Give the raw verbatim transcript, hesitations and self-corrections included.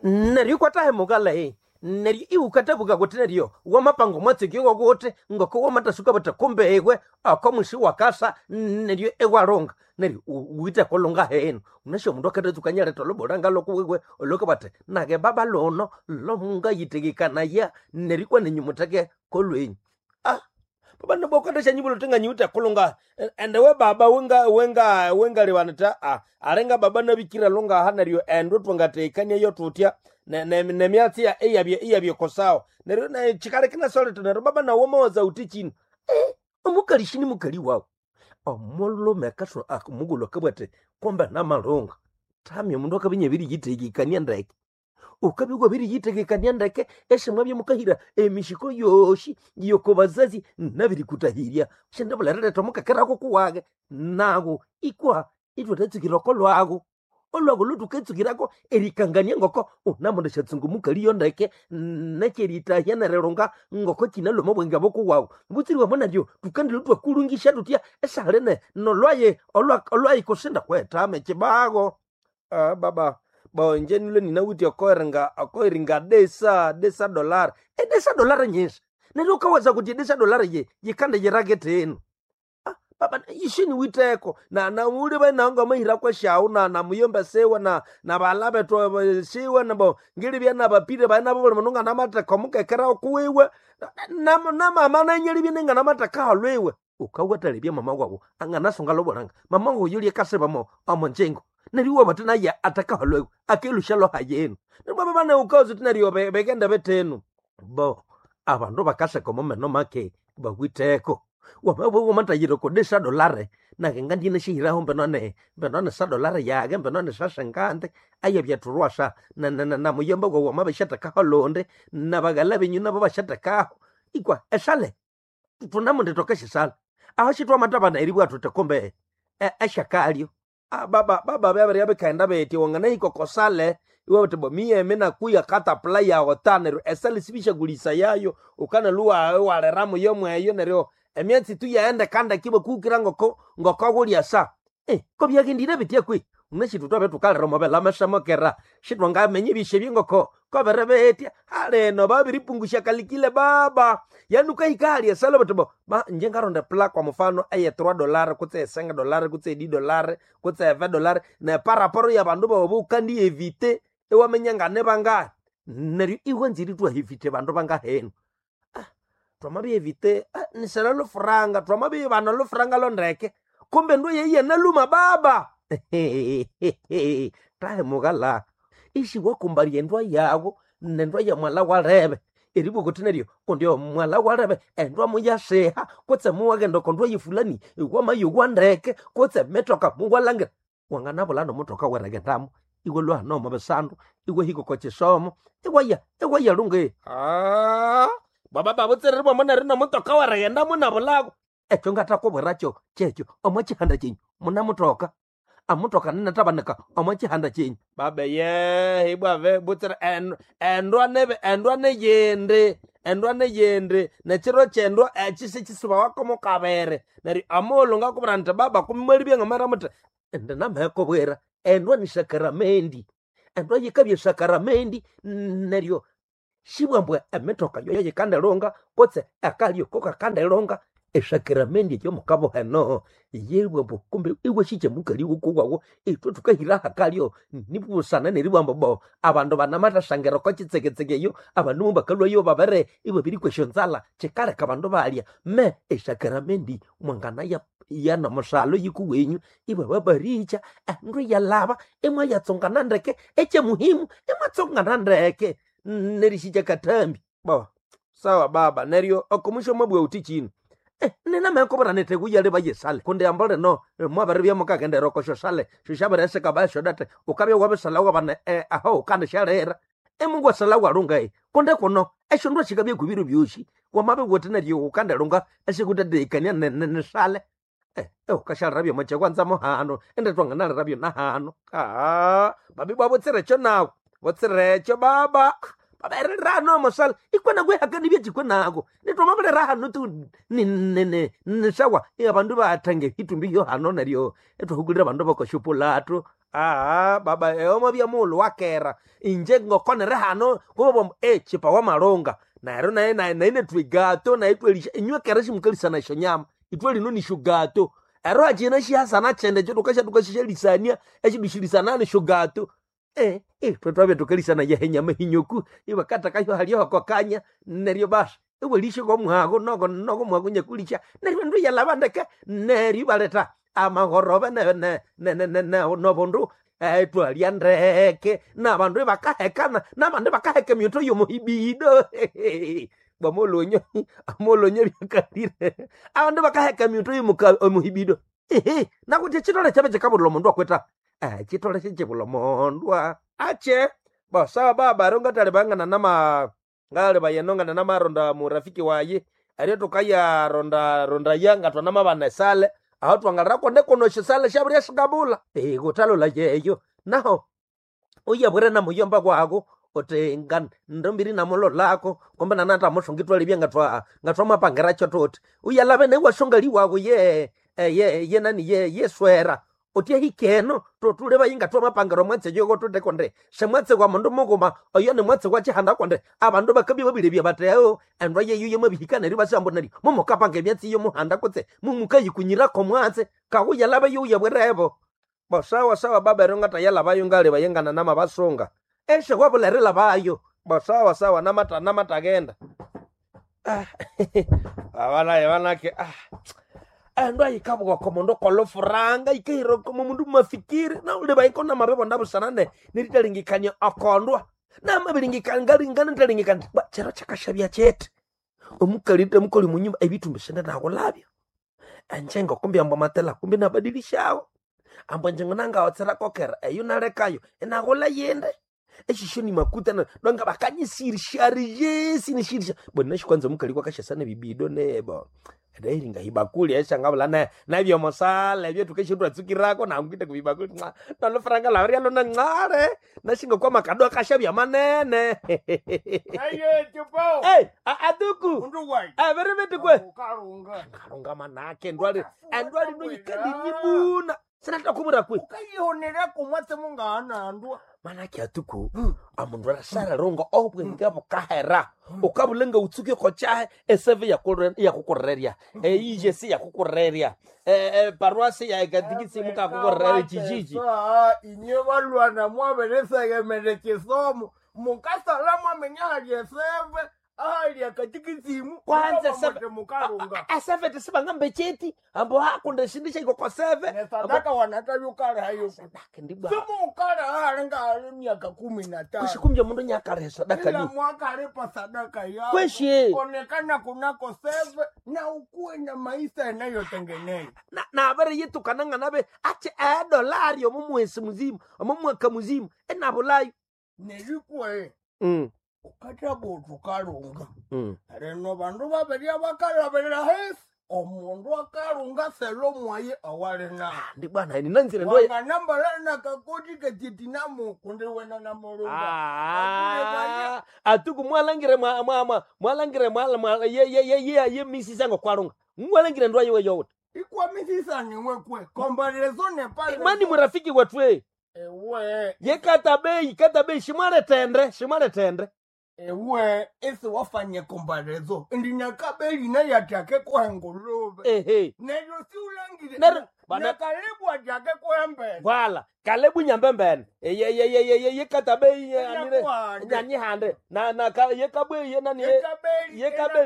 Neryo ikwatahemuka lehi neryo iwukatabuka kuti neryo wamapanga omwatsi wokuti ngoko wamatasuka buthi kumbe iwe oko mwisi wakasa neryo iwalunga neryo wite kulunga henu unasi omundu akatatsuka nyaletha olubulanga lokuwiwe olwakabati nage baba luno lomungayitegekanaya neryo ikwa nenyu mutheke kolwenyu. Ah, baba nabwakatashanyibula uthi nganyiwithe kulunga ende we baba wenga wenga wengaliwanita ah alinga baba nabikira lungaha neryo endo twangatekania yo tutya nemyatsi eyabye eyabye kosawa neryo chikalekina solete neryo baba nawo mawaza uthi chino eh omukali shini mukali wawo omulume akaswa omugulu akabwate komba namalunga tami omundu akabinya ebiriyitegekania ndeke ukabya wabiriyitegekania ndeke esimwa byamukahira emishiko yoshi yoko bazazi nabirikutahirya shendabulherereta omukakeraku kuwage nago ikwa itwathatsukirako lwago olwago lwathuketsukirako erikangania ngoko unamundu syatsunga omukali yo ndeke nekyeritahya nerilunga ngoko kinalhwa omwa bwenge bukuwawu butsiriwamo naryo thukandilwe thwakulungisya thutya esahali nolwaye olwayi kusinda kwethama ekibago. Ah, baba bonje nilwe ninawithe okoiringa okoiringa desa desa dollar edesa dollar nyinji neryo ukawaza kuti edesa dollar ye yikande yirakete eno. Ah, baba ishini witeko na na uli bainanga mahira kweshawu na na muyomba sewa na na bala bethu siwa na bo ngilibya na bapire baina bo mununga na mateka mukekera kuwiwe na na mama na nyelibye ninga na mateka halwiwe ukawathalebya mama wawo anganasunga lobolanga mama wawo yulye kasebamo omonjengo neryo iwabati naye atakahalwewe akelusha loha yenu neryo baba bana ukawuza uthi neryo bekenda betenu bo abandu bakaseka omumeno make bawitheko wamathayira kodesa dolare nage ngandine shihiraho mbenone mbenone sa dolare yage mbenone sasengande ayebyathulwasa namuyomba gwawu wamabishathekaho lundi nabaghala benyu nabo bashathekaho ikwa esale thunamundi thokeshisala aho shithwamathabana eribwa thuthi kumbe esyakalyo. Ah, baba baba byabirya bikaghenda bithi wanganahika okosale iwabugha wuthi miyemi nakuya katapula yawu ta neryo esale sibisyakulisa yayo wukanalwa iwaliramu yomweyo neryo emyatsi tu yaghenda ibakuhukira ngoko ngokoghulya sa. Eh, kobyaghendire bitya kwihi wunasi ithwe thwabya thukalira omo bilama syamokera sithwangaminya ebyisya ngoko kobiri bitya halino babiripungusya kalikile baba yani wukahika hali esale buthi bo ba inje ngaronda epula kwa mufano eye three dollar kutse e cinq dollar kutse e dix dollar kutse e vingt dollar neparaporo yabandu bawu wukandievite iwaminya nganibangahi neryo iwanzire ithwahevite bandu bangahenu. Ah, thwamabyevite nisere lufuranga thwamabiyibana olufuranga londeke kumbe endo yeyi yanaluma baba tahimughala isiwakumbalya endwa yawu nendwa ya mwalha walebe eribugha wuthi neryo kundi omwalha walebe endwa muyasiha kutse muwaghenda okondwa yefulani wamayowa ndeke kutse emitoka muwalhangira wanganabulha nomutoka werighendamu iwalhwa hano omo bisandu iwahika oko kisomo iwaya iwaya lungi. Ah, baba babutsirire bwamo neryo nomutoka werighendamu nabulhaku ekyo ngathakubwirakyo kyekyo omo kihanda kyenyu munamutoka amutoka ninathabanika omo kihanda kyenyu babe yehe ibwave butsira endwa nebe endwa neyindi endwa neyindi nekiro kyendwa ekyi sikyisibawako mukabiri neryo amulhu ngakubwira indi baba kumwalibya ngamara muthi indi namahekubwira endwa ni sakaramendi endwa yikabya sakaramendi neryo sibwambwa emitoka yoyo yikandilunga kutse akalyo kokakandilunga esakaramendi eyomukabuha eno yibwambu kumbe iwasikya mukali wukuwawu ithwe thukahira hakalyo nibusana neribwambu bo abandu banamathasangira oko kitseketseke eyo abandu mubakalhwayo babere ibabirikwa esyonzalha kyikaleka abandu balya me esakaramendi mwanganaya yanomusalho yikuwenyu ibababaricha endu iyalhaba imwayatsungana ndeke ekyemuhimu imwatsungana ndeke nerisikya kathambi bo sawa baba neryo okomusyo mwabugha wuthi kino. Eh, ninamekubwira nithi kuyaleba yesale kundi ambo lino mwabiribya mukaghendera oko syosale syosyabirisika basyodete wukabya wabisala wabana eh, aho wukandishalira emungwasala walunga kundi kuno esyondu sikabya kubiro byosi wamabya wuthi neryo wukandilunga esikuthathekania nisale. Eh, wukashalirabya omo kyakwanza muhano indi thwanganalirabyo nahano. Ah, babibwa butsirekyo nawu butsirekyo baba baberera hano omusale ikwa nakwehakani byekikwe nako nithwamabirera hano tu nisawa abandu bathange itumbi yo hano neryo ithwahukulira abandu bakosyopulato. Aa baba eomo bya muulu wakera inje ngokonere hano kubabwa e chipa wa malunga neryo naye naye naye netwe gato naye twelisha inywe kera shimukalisana esyo nyama itwe lino nisho gato ero hachina shihasana chende cho tukasha tukashishelisania eshidushilisana nisho gato eh eh twe twabya tukalisana yehe nyama hinyoku ibakatakayo haliyo kokanya neryo basa iwelishe komuhago noko noko muhago nyakulisha neryo ndu yalabandeke neryo baleta amahorobe ne ne ne ne ne ne nobundu eh, twalia ndeke nabandu ibakahekana nabandu bakaheka emyuto yomuhibido bwamolonyo amolonyo byakalire abandu bakaheka emyuto yomuhibido ehe nakuti chitole chabe chikabulila omundu akweta eh, chitole chichibula omundu ache bosawa baba ero ngatali nama ngali bayenongana namaronda murafiki waye erio tukayaronda ronda ya ngatwana mabana esale aho twangalira kone kono shisale shabulya shikabula eh kutalola yeyo naho uyabwire na muyomba kwako uti nga ndombiri namulolako kombe nanata mushonga itwalibya ngatwa ngatwa mapangiracho tuti uyalave newashonga liwako ye eh, ye ye nani ye yeswera uti ahikeno totule vayi ngatwa mapangiro mwatse yoko tute konde semwatse kwa mundu mukuma oyo ni mwatse kwa chihanda konde abandu bakabya babilebya bateo endwa yeyo yemabihika neryo basambo neryo mumukapanga emyatsi yomuhanda kutse mumukayikunyirako mwatse kakuyalava yuyabwirevo bosawa sawa baba ero ngatayalavayo ngaliva yengana namabasunga eshe wabulerela bayo bosawa sawa namata namatagenda ah, abanaye banake ah. Endo ayikabuka komundu kolofuranga ikahira komo mundu mafikiri nauliva ikona mabebo ndabusanane neritalingikania akondwa namabilingikanga ntalingikania ba chero chakashabya chete omukalite mukoli munyumba ebitumbi sende nakulabyo enjengo kumbi ambwa matela kumbi nabadilishawo ambwa njengo nangaotsera kokera eyo nalekayo enakula yende eshisho ni makuta na donga bakanyisirisharije sinishirisha bona shikwanza mukali kwakashasana bibido nebo ndairinga ibakuli eshangabula na nabyomosala ebyo tukeshindwa tsukirako nangwite kubibakuli nca nalofranga lawria lona ncare nashinga kwa makado akashabya manene Aye, chupo. hey, aduku Mundu wai. averevete kwe Ukarunga. karunga manake ndwali endwali noyikadinibuna sinatakumura kwe Ukayihonera kumwatse mungahanandwa. manake atuku amundu arasararonga obwenge bukahera ukabulenga utsuke kochahe eseve yakukurerya eijesi yakukurerya paruasi yaekatikisi mukakukurerya chichichi Inye balwana mwaberesegemere kisomo. Mukasala mwamenya hali eseve. Ahali akatikisimu. Kwanza seve- Mukarunga. eseve tisibangambe cheti ambo hakunda shindu shaikokoseve Nesadaka wanatabyukala hayo. ndibwa Simukala hali nga miaka kumi na tano. kushikumja mundu nyakaresa Kila dakani mwaka alipa sadaka yako. Kweshe. Onekana kunako seve na ukuwe na maisha yanayotengeneza. na nabere yitukana nabe ache edolari omu mwesi muzima omu mwaka muzima enabulayo Nerikwe mm. ukathabuthi ukalunga. mm. Rino bandu babiri abakalabirira hesi omundu akalunga selo mwaye awali nayo. ndi bwana ninanzire ndo Wanganambala nakakoti kechitinamu kundi wena namulunga. Ah, atuku mwalangire mwa mwa mwa mwalangire mwa mwa ye ye ye ye ye misisango kwalunga mwalangire ndo yewe yote Ikwamisisani wekwe kombarezo nepale. mani murafiki wetwe Ewe ye kata bei kata bei shimwale tendre shimwale tendre ewe esi wafanye kombarezo ndinakabeli nayatake kwengulube. ehe Neryo siulangire Neryo- bana- nakalebu atake kwembele. wala kalebu nyambembene ye ye ye ye ye ye kata bei ye anire Nyakuhande. nyanyihande na na ka ye kabwe ye nani ye Yekabeli ye kabeli